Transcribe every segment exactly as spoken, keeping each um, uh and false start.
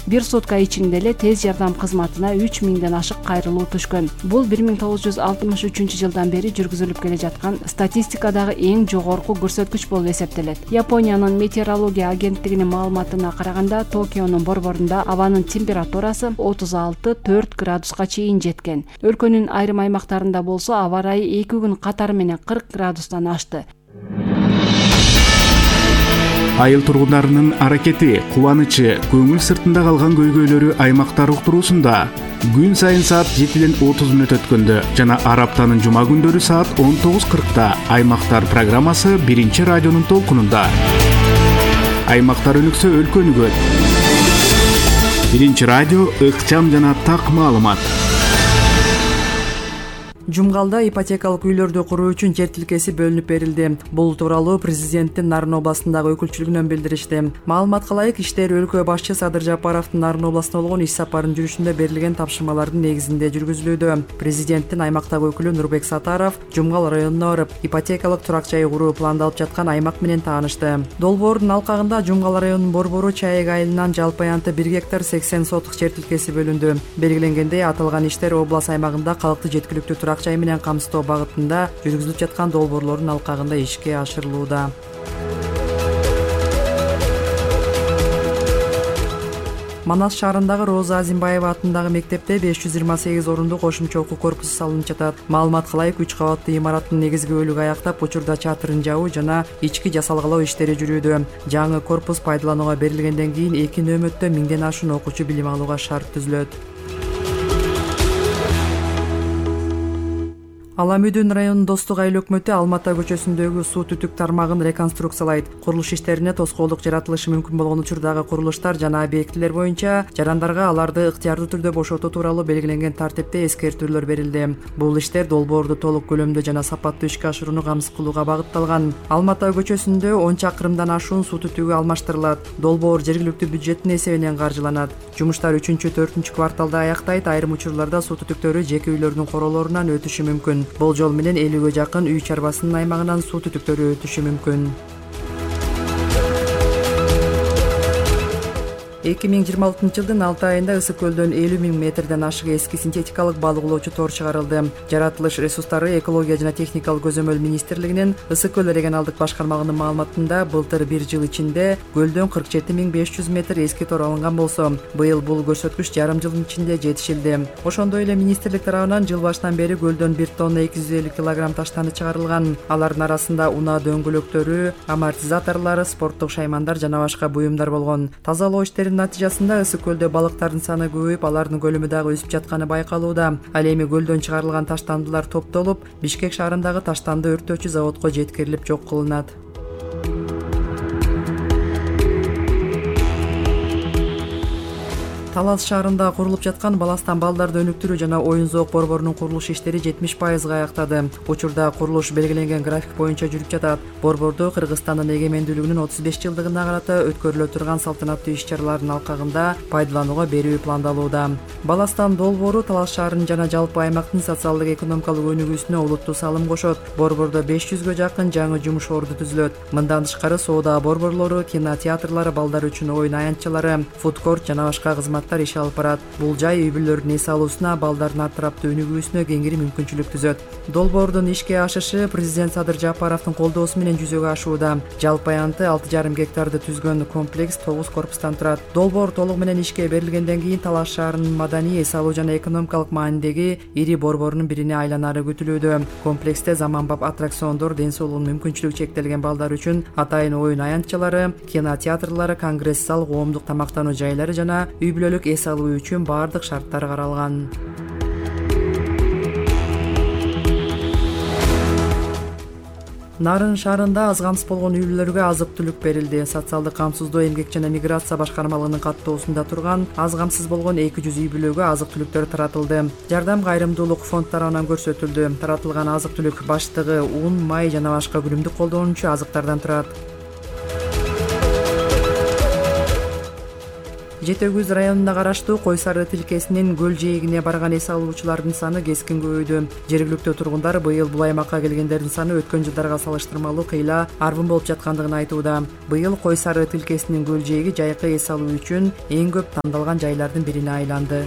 Бир сутка ичинде эле тез жардам кызматына үч миңден ашык кайрылуу түшкөн. Бул бир миң тогуз жүз алтымыш үчүнчү жылдан бери жүргүзүлүп келе жаткан статистикадагы эң жогорку көрсөткүч болуп эсептелет. Япониянын метеорология агенттигинин маалыматына караганда, Токионун борборунда абанын температурасы отуз алты төрт градуска чейин жеткен. Өлкөнүн айрым аймактарында болсо аба ырайы эки күн катары менен кырк градустан ашты. Айыл тургундарынын аракети, кубанычы, көңүл сыртында калган көйгөйлөрү аймактар уктуруусунда күн сайын саат жетиден отуз мүнөт өткөндө жана ар аптанын жума күндөрү саат он тогуз кыркта Аймактар программасы биринчи радионун толкунунда. Аймактар өнүксө өлкө өнүгөт. Биринчи радио ыкчам жана так маалымат. Жумгалда ипотекалык үйлөрдү куруу үчүн жер тилкеси бөлүнүп берилди. Бул тууралуу президенттин Нарын областындагы өкүлчүлүгүнөн билдиришти. Маалыматка ылайык, иштер өлкө башчы Садыр Жапаровдун Нарын областына болгон иш сапарынын жүрүшүндө берилген тапшырмалардын негизинде жүргүзүлүүдө. Президенттин аймактагы өкүлү Нурбек Сатаров Жумгал районуна барып, ипотекалык турак жай куруу пландалып жаткан аймак менен таанышты. Долбоордун алкагында Жумгал районунун борбору Чайык айылынан жалпы аянты бир гектар сексен сотук жер тилкеси бөлүндү. Белгиленгендей, аталган иштер область аймагында калкты жеткиликтүү турак жай менен камсыздоо багытында жүргүзүлүп жаткан долбоорлордун алкагында ишке ашырылууда. Манас шаарындагы Роза Азимбаева атындагы мектепте беш жүз жыйырма сегиз орунду кошумча окуу корпусу салынып жатат. Маалыматка ылайык, үч кабаттуу имараттын негизги бөлүгү аяктап, учурда чатырын жабуу жана ички жасалгалоо иштери жүрүүдө. Жаңы корпус пайдаланууга берилгенден кийин эки нөөмөттө миңден ашуун окуучу билим алууга шарт түзүлөт. Аламүдүн районунун Достук айыл өкмөтү Алма ата көчөсүндөгү суу түтүк тармагын реконструкциялайт. Курулуш иштерине тоскоолдук жаратылышы мүмкүн болгон учурдагы курулуштар жана объектилер боюнча жарандарга аларды ыктыярдуу түрдө бошотуу тууралуу белгиленген тартипте эскертүүлөр берилди. Бул иштер долбоорду толук көлөмдө жана сапаттуу ишке ашырууну камсыз кылууга багытталган. Алма ата көчөсүндө он чакырымдан ашуун суу түтүгү алмаштырылат. Долбоор жергиликтүү бюджеттин эсебинен каржыланат. Жумуштар үчүнчү төртүнчү кварталда аяктайт. Айрым учурларда суу түтүктөрү жеке үйлөрдүн королорунан өтүшү мүмкүн. Болжол менен элүүгө жакын үй чарбасынын аймагынан суу түтүктөрү өтүшү мүмкүн. эки миң жыйырма алтынчы жылдын алты айында Ысык көлдөн элүү миң метрден ашык эски синтетикалык балык улоочу тор чыгарылды. Жаратылыш ресурстары, экология жана техникалык көзөмөл министрлигинин Ысык көл регионалдык башкармалыгынын маалыматында былтыр бир жыл ичинде көлдөн кырк жети миң беш жүз метр эски тор алынган болсо, быйыл бул көрсөткүч жарым жылдын ичинде жетишилди. Ошондой эле министрлик тарабынан жыл башынан бери көлдөн бир тонна эки жүз элүү килограмм таштанды чыгарылган. Алардын арасында унаа дөңгөлөктөрү, амортизаторлор, спорттук шаймандар жана башка буюмдар болгон. Тазалоо иштеринин натыйжасында Ысык көлдө балыктардын саны көбөйүп, алардын көлөмү дагы өсүп жатканы байкалууда. Ал эми көлдөн чыгарылган таштандылар топтолуп, Бишкек шаарындагы таштанды өрттөөчү заводко жеткирилип жок кылынат. Талас шаарында курулуп жаткан Баластан балдарды өнүктүрүү жана оюн зоок борборунун курулуш иштери жетимиш пайызга аяктады. Учурда курулуш белгиленген график боюнча жүрүп жатат. Борбордо Кыргызстандын эгемендүүлүгүнүн отуз беш жылдыгына карата өткөрүлө турган салтанаттуу иш-чаралардын алкагында пайдаланууга берүү пландалууда. Баластан долбоору Талас шаарынын жана жалпы аймактын социалдык экономикалык өнүгүүсүнө олуттуу салым кошот. Борбордо беш жүзгө жакын жаңы жумуш орду түзүлөт. Мындан тышкары соода борборлору, кинотеатрлар, балдар үчүн оюн аянтчалары, фудкорт жана башка кызмат иш алып барат. Бул жай үй бүлөлөрдүн эс алуусуна, балдардын атыраптуу өнүгүүсүнө кеңири мүмкүнчүлүк түзөт. Долбоордун ишке ашышы президент Садыр Жапаровдун колдоосу менен жүзөгө ашууда. Жалпы аянты алты жарым гектарды түзгөн комплекс тогуз корпустан турат. Долбоор толугу менен ишке берилгенден кийин Талас шаарынын маданий, эс алуу жана экономикалык маанидеги ири борборунун бирине айланары күтүлүүдө. Комплексте заманбап аттракциондор, ден соолугу мүмкүнчүлүгү чектелген балдар үчүн атайын оюн аянтчалары, кинотеатрлары, конгресс зал, коомдук тамактануу жайлары жана үй бүлөлүк эс алуу үчүн баардык шарттар каралган. Нарын шаарында аз камсыз болгон үй бүлөлөргө азык-түлүк берилди. Социалдык камсыздоо, эмгек жана миграция башкармалыгынын каттоосунда турган аз камсыз болгон эки жүз үй бүлөгө азык-түлүктөр таратылды. Жардам кайрымдуулук фонд тарабынан көрсөтүлдү. Таратылган азык-түлүк баштыгы, ун, май жана башка күнүмдүк колдонуучу азыктардан турат. Жети Өгүз районуна караштуу Кой Сары тилкесинин көл жээгине барган эс алуучулардын саны кескин көбөйдү. Жергиликтүү тургундар быйыл бул аймакка келгендердин саны өткөн жылдарга салыштырмалуу кыйла арбын болуп жаткандыгын айтууда. Быйыл Кой Сары тилкесинин көл жээги жайкы эс алуу үчүн эң көп тандалган жайлардын бирине айланды.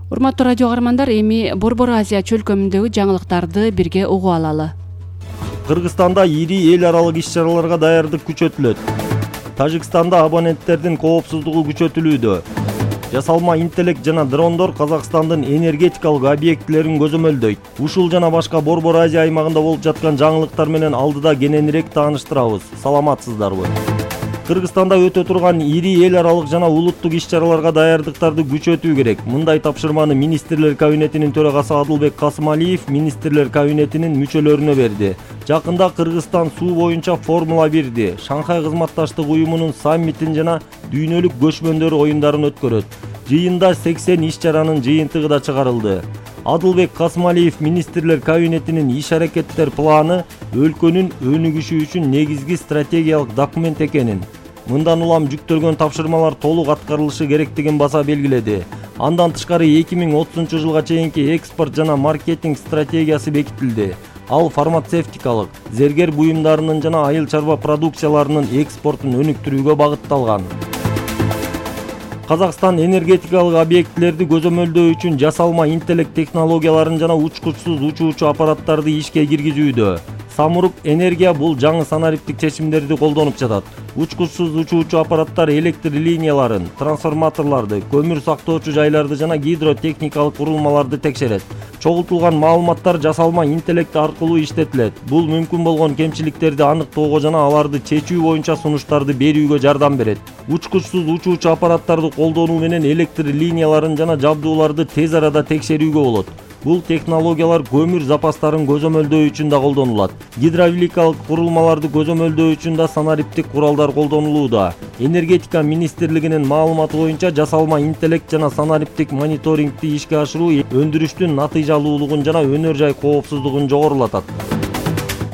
Урматтуу радио каармандар, эми Борбор Азия чөлкөмүндөгү жаңылыктарды бирге угуп алалы. Кыргызстанда ири эл аралык иш-чараларга даярдык күчөтүлөт. Тажикстанда абоненттердин коопсуздугу күчөтүлүүдө. Жасалма интеллект жана дрондор Казакстандын энергетикалык объектилерин көзөмөлдөйт. Ушул жана башка Борбор Азия аймагында болуп жаткан жаңылыктар менен алдыда кененирээк тааныштырабыз. Саламатсыздарбы? Кыргызстанда өтө турган ири эл аралык жана улуттук иш-чараларга даярдыктарды күчөтүү керек. Мындай тапшырманы Министрлер кабинетинин төрагасы Адылбек Касымалиев Министрлер кабинетинин мүчөлөрүнө берди. Жакында Кыргызстан суу боюнча Формула бирди, Шанхай кызматташтык уюмунун саммитин жана дүйнөлүк көчмөндөр оюндарын өткөрөт. Жыйында сексен иш-чаранын жыйынтыгы да чыгарылды. Адылбек Касымалиев Министрлер кабинетинин иш-аракеттер планы өлкөнүн өнүгүшү үчүн негизги стратегиялык документ экенин, мындан улам жүктөлгөн тапшырмалар толук аткарылышы керектигин баса белгиледи. Андан тышкары эки миң отузунчу жылга чейинки экспорт жана маркетинг стратегиясы бекитилди. Ал фармацевтикалык, зергер буюмдарынын жана айыл чарба продукцияларынын экспортун өнүктүрүүгө багытталган. Казакстан энергетикалык объектилерди көзөмөлдөө үчүн жасалма интеллект технологияларын жана учкучсуз учуучу аппараттарды ишке киргизүүдө. Самурук энергия бул жаңы санариптик чечимдерди колдонуп жатат. Учкучсуз учуучу аппараттар электр линияларын, трансформаторлорду, көмүр сактоочу жайларды жана гидротехникалык курулмаларды текшерет. Чогултулган маалыматтар жасалма интеллект аркылуу иштетилет. Бул мүмкүн болгон кемчиликтерди аныктоого жана аларды чечүү боюнча сунуштарды берүүгө жардам берет. Учкучсуз учуучу аппараттарды колдонуу менен электр линияларын жана жабдууларды тез арада текшерүүгө болот. Бул технологиялар көмүр запастарын көзөмөлдөө үчүн да колдонулат. Гидравликалык курулмаларды көзөмөлдөө үчүн да санариптик куралдар колдонулууда. Энергетика министрлигинин маалыматы боюнча жасалма интеллект жана санариптик мониторингди ишке ашыруу өндүрүштүн натыйжалуулугун жана өнөр жай коопсуздугун жогорулатат.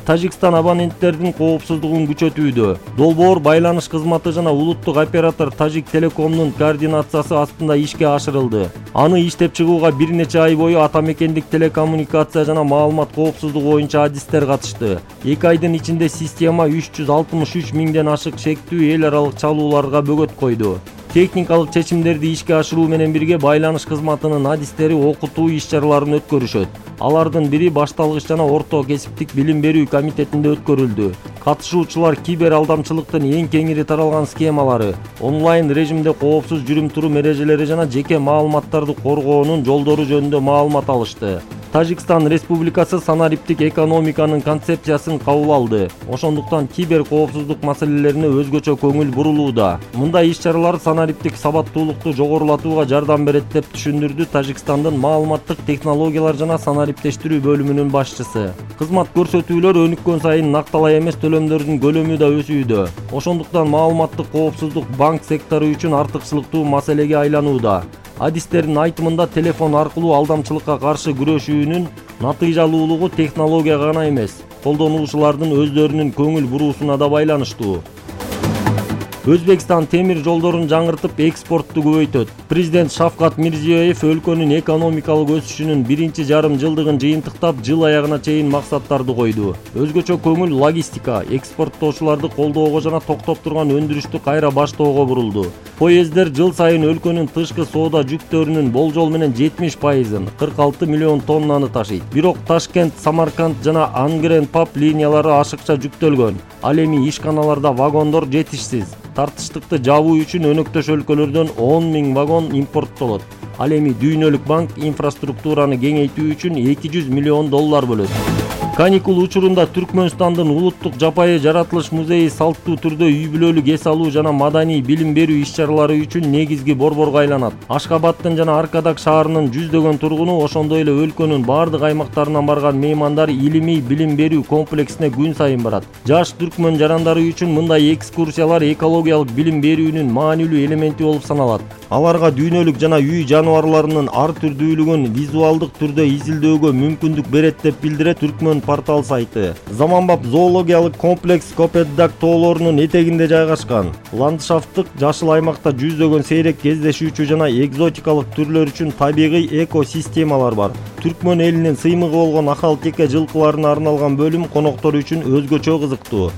Тажикстан абоненттердин коопсуздугун күчөтүүдө. Долбоор байланыш кызматы жана улуттук оператор Тажик Телекомдун координациясы астында ишке ашырылды. Аны иштеп чыгууга бир нече ай бою ата мекендик телекоммуникация жана маалымат коопсуздугу боюнча адистер катышты. Эки айдын ичинде система үч жүз алтымыш үч миңден ашык шектүү эл аралык чалууларга бөгөт койду. Техникалык чечимдерди ишке ашыруу менен бирге байланыш кызматынын адистери окутуу иш-чараларын өткөрүшөт. Алардын бири башталгыч жана орто кесиптик билим берүү комитетинде өткөрүлдү. Катышуучулар кибер алдамчылыктын эң кеңири таралган схемалары, онлайн режимде коопсуз жүрүм-турум эрежелери жана жеке маалыматтарды коргоонун жолдору жөнүндө маалымат алышты. Тажикстан Республикасы санариптик экономиканын концепциясын кабыл алды. Ошондуктан кибер коопсуздук маселелерине өзгөчө көңүл бурулууда. Мындай иш-чаралар санариптик сабаттуулукту жогорулатууга жардам берет деп түшүндүрдү Тажикстандын маалыматтык технологиялар жана санариптештирүү бөлүмүнүн башчысы. Кызмат көрсөтүүлөр өнүккөн сайын накталай эмес төлөмдөрдүн көлөмү да өсүүдө. Ошондуктан маалыматтык коопсуздук банк сектору үчүн артыкчылыктуу маселеге айланууда. Адистердин айтымында телефон аркылуу алдамчылыкка каршы күрөшүүнүн натыйжалуулугу технологияга гана эмес, колдонуучулардын өздөрүнүн көңүл буруусуна да байланыштуу. Өзбекстан темир жолдорун жаңыртып экспортту көбөйтөт. Президент Шавкат Мирзиёев өлкөнүн экономикалык өсүшүнүн биринчи жарым жылдыгын жыйынтыктап, жыл аягына чейин максаттарды койду. Өзгөчө көңүл логистика, экспорттоочуларды колдоого жана токтоп турган өндүрүштү кайра баштоого бурулду. Поезддер жыл сайын өлкөнүн тышкы соода жүктөрүнүн болжол менен жетимиш пайызын, кырк алты миллион тоннаны ташыйт. Бирок Ташкент, Самарканд жана Ангрен-Пап линиялары ашыкча жүктөлгөн. Ал эми ишканаларда вагондор жетишсиз. Тартыштыкты жабуу үчүн өнөктөш өлкөлөрдөн он миң вагон импорттолот. Ал эми Дүйнөлүк банк инфраструктураны кеңейтүү үчүн эки жүз миллион доллар бөлөт. Каникул учурунда Түркмөнстандын улуттук жапайы жаратылыш музейи салттуу түрдө үй бүлөлүк эс алуу жана маданий билим берүү иш-чаралары үчүн негизги борборго айланат. Ашкабадтын жана Аркадак шаарынын жүздөгөн тургуну, ошондой эле өлкөнүн бардык аймактарынан барган меймандар илимий билим берүү комплексине күн сайын барат. Жаш түркмөн жарандары үчүн мындай экскурсиялар экологиялык билим берүүнүн маанилүү элементи болуп саналат. Аларга дүйнөлүк жана үй жаныбарларынын ар түрдүүлүгүн визуалдык түрдө изилдөөгө мүмкүндүк берет деп билдирет Түркмөн портал сайты. Заманбап зоологиялык комплекс Копетдаг тоолорунун этегинде жайгашкан. Ландшафттык жашыл аймакта жүздөгөн сейрек кездешүүчү жана экзотикалык түрлөр үчүн табигый экосистемалар бар. Түркмөн элинин сыймыгы болгон акал-теке жылкыларына арналган бөлүм коноктор үчүн өзгөчө кызыктуу.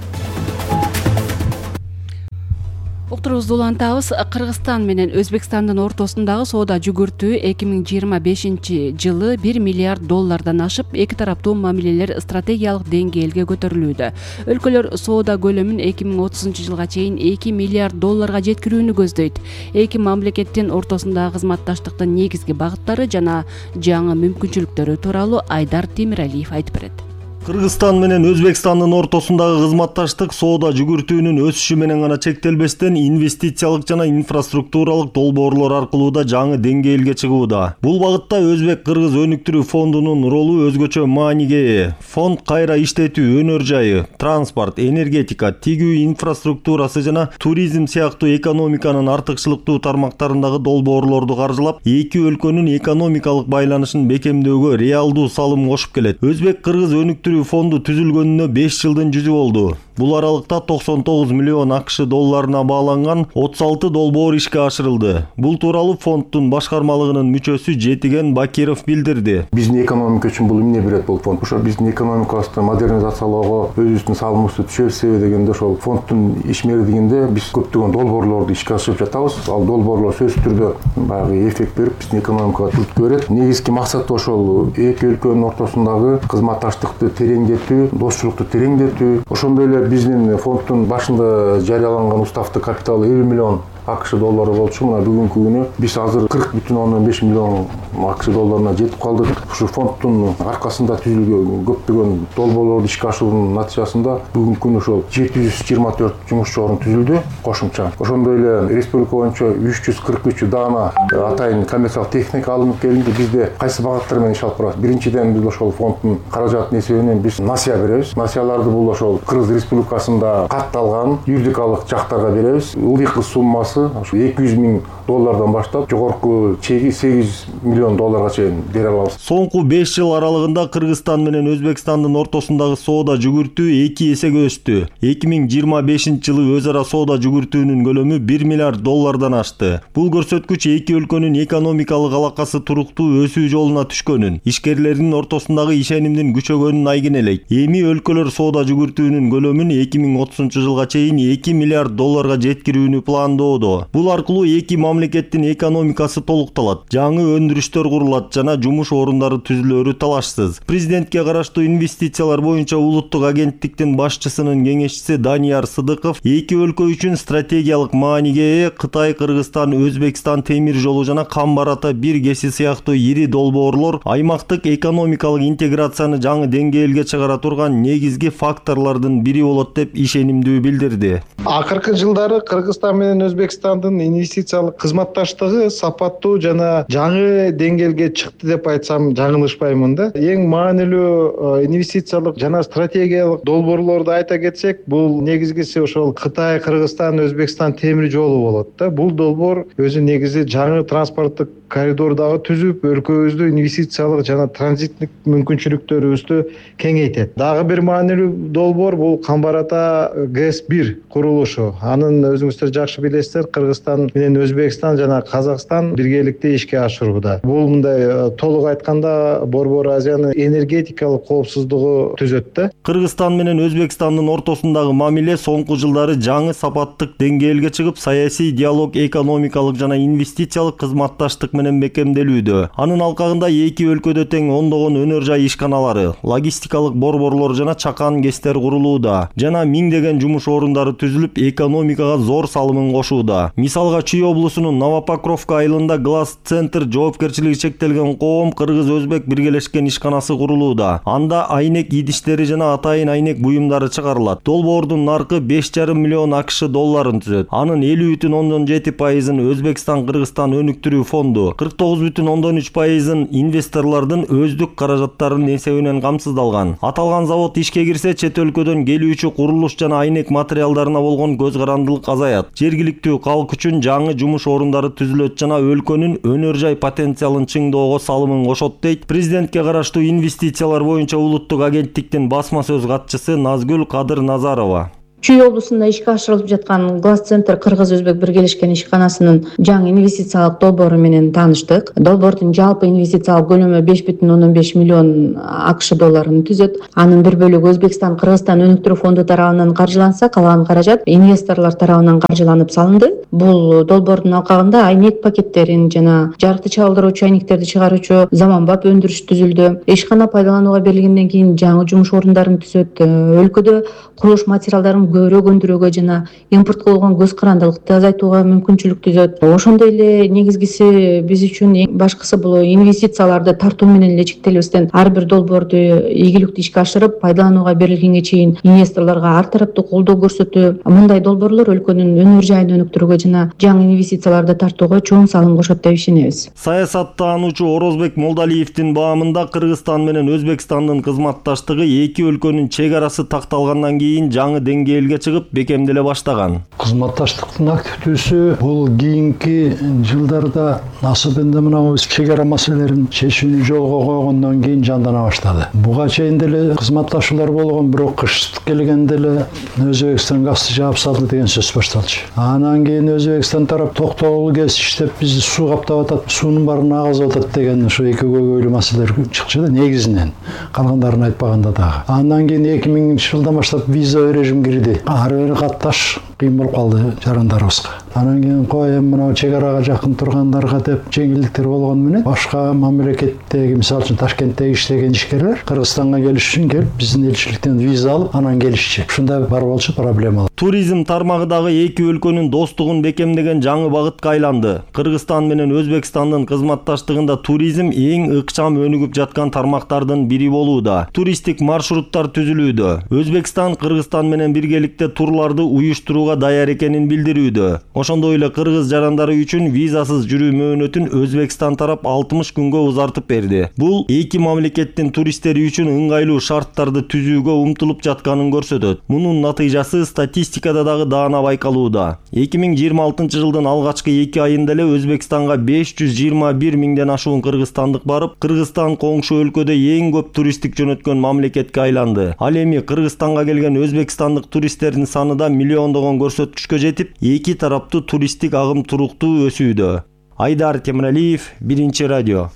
Уктурубузду улантабыз. Кыргызстан менен Өзбекстандын ортосундагы соода жүгүртүү эки миң жыйырма бешинчи жылы бир миллиард доллардан ашып, эки тараптуу мамилелер стратегиялык деңгээлге көтөрүлүүдө. Өлкөлөр соода көлөмүн эки миң отузунчу жылга чейин эки миллиард долларга жеткирүүнү көздөйт. Эки мамлекеттин ортосундагы кызматташтыктын негизги багыттары жана жаңы мүмкүнчүлүктөрү тууралуу Айдар Темиралиев айтып берет. Кыргызстан менен Өзбекстандын ортосундагы кызматташтык соода жүгүртүүнүн өсүшү менен гана чектелбестен инвестициялык жана инфраструктуралык долбоорлор аркылуу да жаңы деңгээлге чыгууда. Бул багытта Өзбек-Кыргыз өнүктүрүү фондунун ролу өзгөчө мааниге ээ. Фонд кайра иштетүү, өнөр жайы, транспорт, энергетика, тигүү инфраструктурасы жана туризм сыяктуу экономиканын артыкчылыктуу тармактарындагы долбоорлорду каржылап, эки өлкөнүн экономикалык байланышын бекемдөөгө реалдуу салым кошуп келет. Өзбек-Кыргыз өнүктүрүү фонду түзүлгөнүнө беш жылдын жүзү болду. Бул аралыкта токсон тогуз миллион акш долларына бааланган отуз алты долбоор ишке ашырылды. Бул тууралуу фонддун башкармалыгынын мүчөсү Жетиген Бакиров билдирди. Биздин экономика үчүн бул эмне берет бул фонд? Ошо биздин экономикабызды модернизациялоого өзүбүздүн салымыбызды түшөрсө дегенде ошол фонддун ишмердигинде биз көптөгөн долбоорлорду ишке ашырып жатабыз. Ал долбоорлор сөзсүз түрдө баягы эффект берип, биздин экономикага түрткү берет. Негизги максаты ошол эки өлкөнүн ортосундагы кызматташтыкты тереңдетүү, достчулукту тереңдетүү. Ошондой эле биздин фонддун башында жарыяланган уставты капиталы элүү миллион акш доллары болчу. Мына бүгүнкү күнү биз азыр кырк бүтүн ондон беш миллион акш долларына жетип калдык. Ушу фонддун аркасында түзүлгөн көптөгөн долбоорлорду ишке ашыруунун натыйжасында бүгүнкү күнү ошол жети жүз жыйырма төрт жумушчу орун түзүлдү кошумча. Ошондой эле республика боюнча үч жүз кырк үч даана атайын коммерциялык техника алынып келинди. Бизде кайсы багыттар менен иш алып барабыз? Биринчиден биз ошол фонддун каражатынын эсебинен биз насыя беребиз. Насыяларды бул ошол Кыргыз Республикасында катталган юридикалык жактарга беребиз. Ылдыйкы суммасы ошо эки жүз миң доллардан баштап жогорку чеги сегиз жүз миллион долларга чейин бере алабыз. Соңку беш жыл аралыгында Кыргызстан менен Өзбекстандын ортосундагы соода жүгүртүү эки эсеге өстү. эки миң жыйырма бешинчи жылы өз ара соода жүгүртүүнүн көлөмү бир миллиард доллардан ашты. Бул көрсөткүч эки өлкөнүн экономикалык алакасы туруктуу өсүү жолуна түшкөнүн, ишкерлердин ортосундагы ишенимдин күчөгөнүн айгинелейт. Эми өлкөлөр соода жүгүртүүнүн көлөмүн эки миң отузунчу жылга чейин эки миллиард долларга жеткирүүнү пландоодо. Бул аркылуу эки мамлекеттин экономикасы толукталат, жаңы өндүрүштөр курулат жана жумуш орундары түзүлөрү талашсыз. Президентке караштуу инвестициялар боюнча улуттук агенттиктин башчысынын кеңешчиси Данияр Сыдыков эки өлкө үчүн стратегиялык мааниге ээ Кытай, Кыргызстан, Өзбекстан темир жолу жана Камбар-Ата бир кеси сыяктуу ири долбоорлор аймактык экономикалык интеграцияны жаңы деңгээлге чыгара турган негизги факторлордун бири болот деп ишенимдүү билдирди. Акыркы жылдары Кыргызстан менен Өзбекстандын инвестициялык кызматташтыгы сапаттуу жана жаңы деңгээлге чыкты деп айтсам жаңылышпаймын да. Эң маанилүү инвестициялык жана стратегиялык долбоорлорду айта кетсек, бул негизгиси ошол Кытай, Кыргызстан, Өзбекстан темир жолу болот да. Бул долбоор өзү негизи жаңы транспорттук коридор дагы түзүп, өлкөбүздү инвестициялык жана транзиттик мүмкүнчүлүктөрүбүздү кеңейтет. Дагы бир маанилүү долбоор бул Камбар-Ата ГЭС бир курулушу. Анын өзүңүздөр жакшы билесиздер, Кыргызстан менен Өзбекстан жана Казакстан биргеликте ишке ашырууда. Бул мындай толук айтканда Борбор Азиянын энергетикалык коопсуздугу түзөт да. Кыргызстан менен Өзбекстандын ортосундагы мамиле соңку жылдары жаңы сапаттык деңгээлге чыгып, саясий диалог, экономикалык жана инвестициялык кызматташтык менен бекемделүүдө. Анын алкагында эки өлкөдө тең ондогон өнөр жай ишканалары, логистикалык борборлор жана чакан кестер курулууда жана миңдеген жумуш орундары түзүлүп, экономикага зор салымын кошууда. Мисалга, Чүй облусунун Новопокровка айылында Глаз Центр жоопкерчилиги чектелген коом кыргыз-өзбек биргелешкен ишканасы курулууда. Анда айнек идиштери жана атайын айнек буюмдары чыгарылат. Долбоордун наркы беш жарым миллион акш долларын түзөт. Анын элүү бүтүн ондон жети пайызын Өзбекстан-Кыргызстан өнүктүрүү фонду, болду. кырк тогуз бүтүн ондон үч пайызын инвесторлордун өздүк каражаттарынын эсебинен камсыздалган. Аталган завод ишке кирсе, чет өлкөдөн келүүчү курулуш жана айнек материалдарына болгон көз карандылык азаят. Жергиликтүү калк үчүн жаңы жумуш орундары түзүлөт жана өлкөнүн өнөр жай потенциалын чыңдоого салымын кошот, дейт президентке караштуу инвестициялар боюнча улуттук агенттиктин басма сөз катчысы Назгүл Кадыр Назарова. Чүй облусунда ишке ашырылып жаткан Глаз центр кыргыз-өзбек биргелешкен ишканасынын жаңы инвестициялык долбоору менен тааныштык. Долбоордун жалпы инвестициялык көлөмү беш бүтүн ондон беш миллион АКШ долларын түзөт. Анын бир бөлүгү Өзбекстан Кыргызстан өнүктүрүү фонду тарабынан каржыланса, калган каражат инвесторлор тарабынан каржыланып салынды. Бул долбоордун алкагында айнек пакеттерин жана жарыкты чагылдыруучу айнектерди чыгаруучу заманбап өндүрүш түзүлдү. Ишкана пайдаланууга берилгенден кийин жаңы жумуш орундарын түзөт. Өлкөдө курулуш материалдарын көбүрөөк өндүрүүгө жана импортко болгон көз карандылыкты азайтууга мүмкүнчүлүк түзөт. Ошондой эле негизгиси биз үчүн эң башкысы бул инвестицияларды тартуу менен эле чектелбестен ар бир долбоорду ийгиликтүү ишке ашырып, пайдаланууга берилгенге чейин инвесторлорго ар тараптуу колдоо көрсөтүү. Мындай долбоорлор өлкөнүн өнөр жайын өнүктүрүүгө жана жаңы инвестицияларды тартууга чоң салым кошот деп ишенебиз. Саясаттануучу Орозбек Молдалиевдин баамында Кыргызстан менен Өзбекстандын кызматташтыгы эки өлкөнүн чек арасы такталгандан кийин жаңы деңгээлге чыгып бекемделе баштаган. Кызматташтыктын активдүүсү бул кийинки жылдарда особенно мына чек ара маселелерин чечүүнү жолго койгондон кийин жандана баштады. Буга чейин деле кызматташуулар болгон, бирок кыш келгенде эле Өзбекстан газды жаап салды деген сөз башталчу. Анан кийин Өзбекстан тарап токтогул кез иштеп бизди суу каптап атат, суунун баарын агызып атат деген ушу эки көйгөйлүү маселелер чыкчу да негизинен. Калгандарын айтпаганда дагы. Андан кийин эки миңинчи жылдан баштап виза режим кирди. Ар бир катташ кыйын болуп калды жарандарыбызга. Анан кийин кой эми мына чек арага жакын тургандарга деп жеңилдиктер болгону менен башка мамлекеттеги, мисалы үчүн Ташкенттеги иштеген ишкерлер Кыргызстанга келиш үчүн келип, биздин элчиликтен виза алып, анан келишчи. Ушундай бар болчу проблема. Туризм тармагы дагы эки өлкөнүн достугун бекемдеген жаңы багытка айланды. Кыргызстан менен Өзбекстандын кызматташтыгында туризм эң ыкчам өнүгүп жаткан тармактардын бири болууда. Туристтик маршруттар түзүлүүдө. Өзбекстан Кыргызстан менен биргеликте турларды уюштурууга даяр экенин билдирүүдө. Ошондой эле кыргыз жарандары үчүн визасыз жүрүү мөөнөтүн Өзбекстан тарап алтымыш күнгө узартып берди. Бул эки мамлекеттин туристтери үчүн ыңгайлуу шарттарды түзүүгө умтулуп жатканын көрсөтөт. Мунун натыйжасы статистикада дагы даана байкалууда. эки миң жыйырма алтынчы жылдын алгачкы эки айында эле Өзбекстанга беш жүз жыйырма бир миңден ашуун кыргызстандык барып, Кыргызстан коңшу өлкөдө эң көп туристтик жөнөткөн мамлекетке айланды. Ал эми Кыргызстанга келген өзбекстандык туристтердин саны да миллиондогон көрсөткүчкө жетип, эки тараптуу туристтик агым туруктуу өсүүдө. Айдар Темиралиев, Биринчи радио.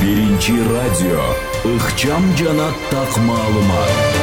Биринчи радио. Ыкчам жана так маалымат.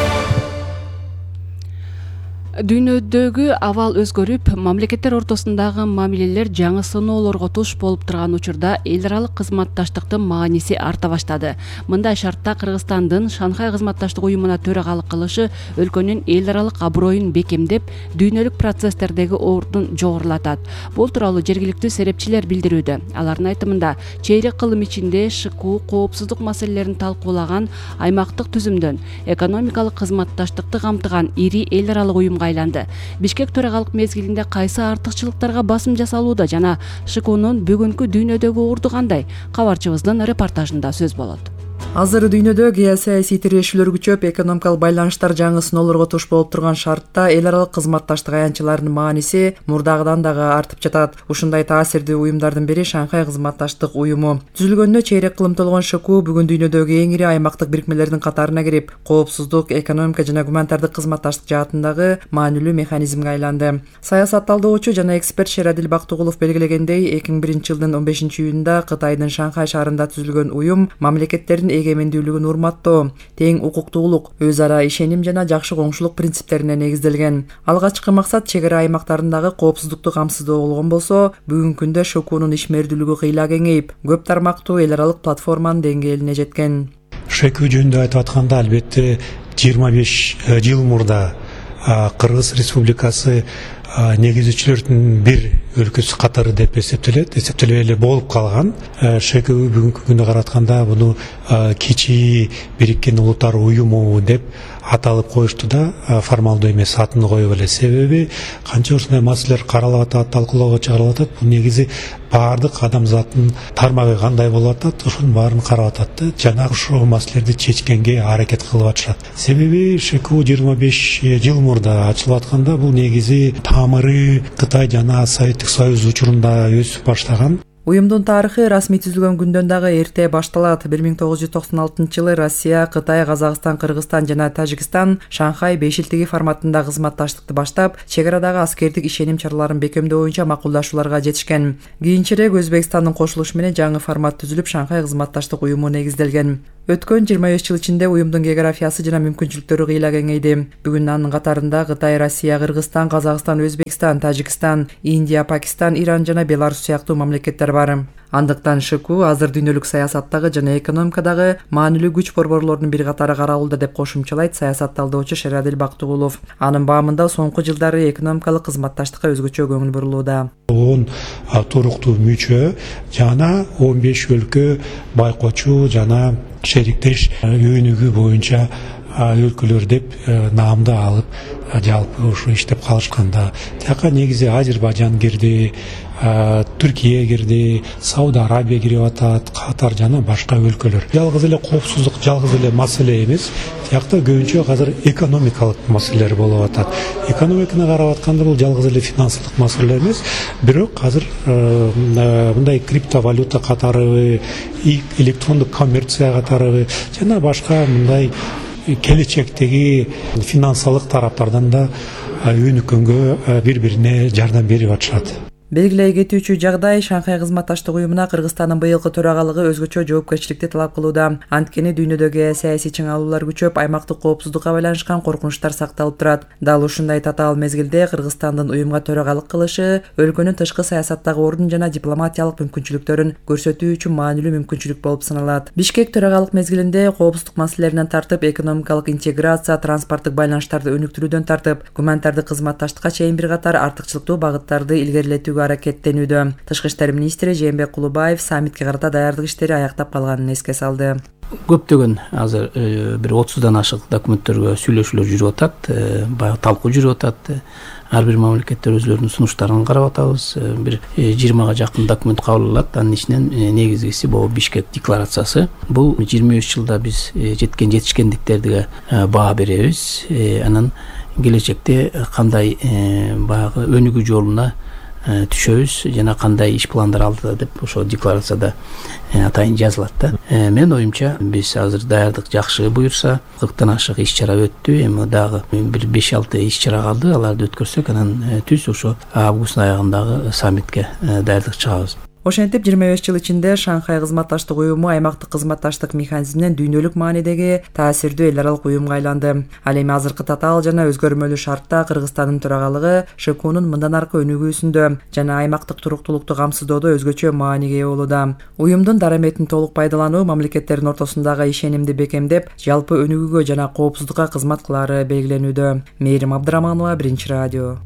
Дүйнөдөгү абал өзгөрүп, мамлекеттер ортосундагы мамилелер жаңы сыноолорго туш болуп турган учурда эл аралык кызматташтыктын мааниси арта баштады. Мындай шартта Кыргызстандын Шанхай кызматташтык уюмуна төрагалык кылышы өлкөнүн эл аралык аброюн бекемдеп, дүйнөлүк процесстердеги ордун жогорулатат. Бул тууралуу жергиликтүү серепчилер билдирүүдө. Алардын айтымында, чейрек кылым ичинде ШКУ коопсуздук маселелерин талкуулаган аймактык түзүмдөн экономикалык кызматташтыкты камтыган ири эл аралык уюмга айланды. Бишкек төрагалык мезгилинде кайсы артыкчылыктарга басым жасалууда жана ШКУнун бүгүнкү дүйнөдөгү орду кандай? Кабарчыбыздын репортажында сөз болот. Азыр дүйнөдө геосаясий тирешүүлөр күчөп, экономикалык байланыштар жаңы сыноолорго туш болуп турган шартта эл аралык кызматташтык аянтчыларынын мааниси мурдагыдан дагы артып жатат. Ушундай таасирдүү уюмдардын бири Шанхай кызматташтык уюму. Түзүлгөнүнө чейрек кылым толгон ШКУ бүгүн дүйнөдөгү эң ири аймактык бирикмелердин катарына кирип, коопсуздук, экономика жана гуманитардык кызматташтык жаатындагы маанилүү механизмге айланды. Саясат талдоочу жана эксперт Шерадил Бактыгулов белгилегендей, эки миң биринчи жылдын он бешинчи июнунда Кытайдын Шанхай шаарында түзүлгөн уюм мамлекеттердин эгемендүүлүгүн урматтоо, тең укуктуулук, өз ара ишеним жана жакшы коңшулук принциптерине негизделген. Алгачкы максат чек ара аймактарындагы коопсуздукту камсыздоо болгон болсо, бүгүнкү күндө ШКУнун ишмердүүлүгү кыйла кеңейип, көп тармактуу эл аралык платформанын деңгээлине жеткен. ШКУ жөнүндө айтып атканда, албетте жыйырма беш жыл мурда Кыргыз Республикасы негизчилердин бир өлкөсү катары деп эсептелет, эсептелбей эле болуп калган. ШКУ бүгүнкү күндө каратканда буну кичи бириккен улуттар уюму деп аталып коюшту да формалдуу эмес атын коюп эле. Себеби канча ушундай маселелер каралып атат, талкуулоого чыгарылып атат. Бул негизи баардык адамзаттын тармагы кандай болуп атат, ошонун баарын карап атат да жана ушул маселелерди чечкенге аракет кылып атышат. Себеби ШКУ жыйырма беш жыл мурда ачылып атканда бул негизи тамыры Кытай жана Советтик Союз учурунда өсүп баштаган. Уюмдун тарыхы расмий түзүлгөн күндөн дагы эрте башталат. бир миң тогуз жүз токсон алтынчы жылы Россия, Кытай, Казакстан, Кыргызстан жана Тажикстан Шанхай бешилтиги форматында кызматташтыкты баштап, чек арадагы аскердик ишеним чараларын бекемдөө боюнча макулдашууларга жетишкен. Кийинчерээк Өзбекстандын кошулушу менен жаңы формат түзүлүп, Шанхай кызматташтык уюму негизделген. Өткөн жыйырма беш жыл ичинде уюмдун географиясы жана мүмкүнчүлүктөрү кыйла кеңейди. Бүгүн анын катарында Кытай, Россия, Кыргызстан, Казакстан, Өзбекстан, Тажикстан, Индия, Пакистан, Иран жана Беларусь сыяктуу мамлекеттер бар. Андыктан ШКУ азыр дүйнөлүк саясаттагы жана экономикадагы маанилүү күч борборлордун бир катары каралууда деп кошумчалайт саясат талдоочу Шерадил Бактыгулов. Анын баамында соңку жылдары экономикалык кызматташтыкка өзгөчө көңүл бурулууда. он туруктуу мүчө жана он беш өлкө байкоочу жана шериктеш өнүгүү боюнча өлкөлөр деп наамды алып жалпы ушу иштеп калышканда. Тияка негизи Азербайжан кирди, Түркия кирди, Сауд Арабия кирип атат, Катар жана башка өлкөлөр. Жалгыз эле коопсуздук, жалгыз эле маселе эмес. Тиякта көбүнчө азыр экономикалык маселелер болуп атат. Экономиканы карап атканда бул жалгыз эле финансылык маселе эмес, бирок азыр мындай криптовалюта катары, электрондук коммерция катары жана башка мындай келечектеги финансылык тараптардан да өнүккөнгө бири-бирине жардам берип атышат. Белгилей кетүүчү жагдай Шанхай кызматташтык уюмуна Кыргызстандын быйылкы төрагалыгы өзгөчө жоопкерчиликти талап кылууда. Анткени дүйнөдөгү саясий чыңалуулар күчөп, аймактык коопсуздукка байланышкан коркунучтар сакталып турат. Дал ушундай татаал мезгилде Кыргызстандын уюмга төрагалык кылышы өлкөнүн тышкы саясаттагы ордун жана дипломатиялык мүмкүнчүлүктөрүн көрсөтүү үчүн маанилүү мүмкүнчүлүк болуп саналат. Бишкек төрагалык мезгилинде коопсуздук маселелеринен тартып, экономикалык интеграция, транспорттук байланыштарды өнүктүрүүдөн тартып, гуманитардык кызматташтыкка чейин бир катар артыкчылыктуу багыттарды илгерилетүүгө аракеттенүүдө. Тышкы иштер министри Жээнбек Кулубаев саммитке карата даярдык иштери аяктап калганын эске салды. Көптөгөн азыр бир отуздан ашык документтерге сүйлөшүүлөр жүрүп атат, баягы талкуу жүрүп атат. Ар бир мамлекеттер өзлөрүнүн сунуштарын карап атабыз. Бир жыйырмага жакын документ кабыл алынат. Анын ичинен негизгиси бул Бишкек декларациясы. Бул жыйырма беш жылда биз жеткен жетишкендиктерге баа беребиз. Анан келечекте кандай баягы өнүгүү жолуна түшөбүз жана кандай иш пландар алдыда деп ошо декларацияда атайын жазылат да. Мен оюмча биз азыр даярдык жакшы буюрса, кырктан ашык иш чара өттү, эми дагы бир беш алты иш чара калды. Аларды өткөрсөк, анан түз ошо август аягындагы саммитке даярдык чыгабыз. Ошентип жыйырма беш жыл ичинде Шанхай кызматташтык уюму аймактык кызматташтык механизминен дүйнөлүк маанидеги таасирдүү эл аралык уюмга айланды. Ал эми азыркы татаал жана өзгөрмөлүү шартта Кыргызстандын төрагалыгы ШКУнун мындан аркы өнүгүүсүндө жана аймактык туруктуулукту камсыздоодо өзгөчө мааниге ээ болууда. Уюмдун дараметин толук пайдалануу мамлекеттердин ортосундагы ишенимди бекемдеп, жалпы өнүгүүгө жана коопсуздукка кызмат кылаары белгиленүүдө. Мээрим Абдыраманова, Биринчи радио.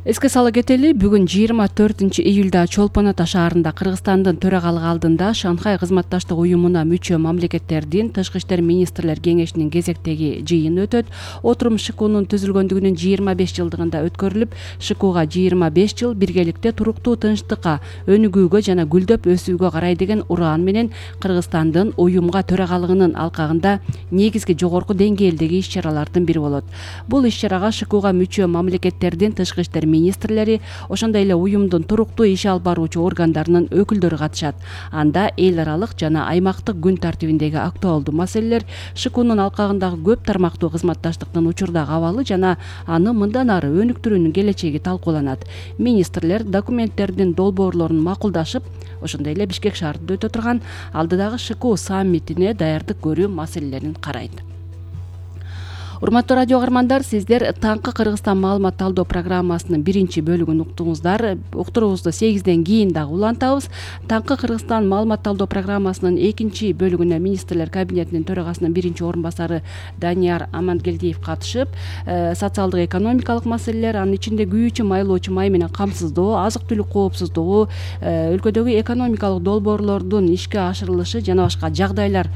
Эске сала кетели, бүгүн жыйырма төртүнчү июлда Чолпон Ата шаарында Кыргызстандын төрагалыгы алдында Шанхай кызматташтык уюмуна мүчө мамлекеттердин тышкы иштер министрлер кеңешинин кезектеги жыйыны өтөт. Отурум ШКУнун түзүлгөндүгүнүн жыйырма беш жылдыгында өткөрүлүп, ШКУга жыйырма беш жыл биргеликте туруктуу тынчтыкка, өнүгүүгө жана гүлдөп өсүүгө карай деген ураан менен Кыргызстандын уюмга төрагалыгынын алкагында негизги жогорку деңгээлдеги иш чаралардын бири болот. Бул иш чарага ШКУга мүчө мамлекеттердин тышкы иштер министрлери, ошондой эле уюмдун туруктуу иш алып баруучу органдарынын өкүлдөрү катышат. Анда эл аралык жана аймактык күн тартибиндеги актуалдуу маселелер, ШКУнун алкагындагы көп тармактуу кызматташтыктын учурдагы абалы жана аны мындан ары өнүктүрүүнүн келечеги талкууланат. Министрлер документтердин долбоорлорун макулдашып, ошондой эле Бишкек шаарында өтө турган алдыдагы ШКУ саммитине даярдык көрүү маселелерин карайт. Урматтуу радио каармандар, сиздер таңкы Кыргызстан маалымат талдоо программасынын биринчи бөлүгүн уктуңуздар. Уктуруубузду сегизден кийин дагы улантабыз. Таңкы Кыргызстан маалымат талдоо программасынын экинчи бөлүгүнө министрлер кабинетинин төрагасынын биринчи орун басары Данияр Амангелдиев катышып, социалдык экономикалык маселелер, анын ичинде күйүүчү майлоочу май менен камсыздоо, азык түлүк коопсуздугу, өлкөдөгү экономикалык долбоорлордун ишке ашырылышы жана башка жагдайлар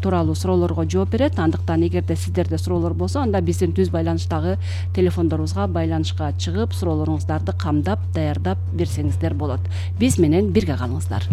тууралуу суроолорго жооп берет. Андыктан эгерде сиздерде суроолор болсо, анда биздин түз байланыштагы телефондорубузга байланышка чыгып, суроолоруңуздарды камдап, даярдап берсеңиздер болот. Биз менен бирге калыңыздар.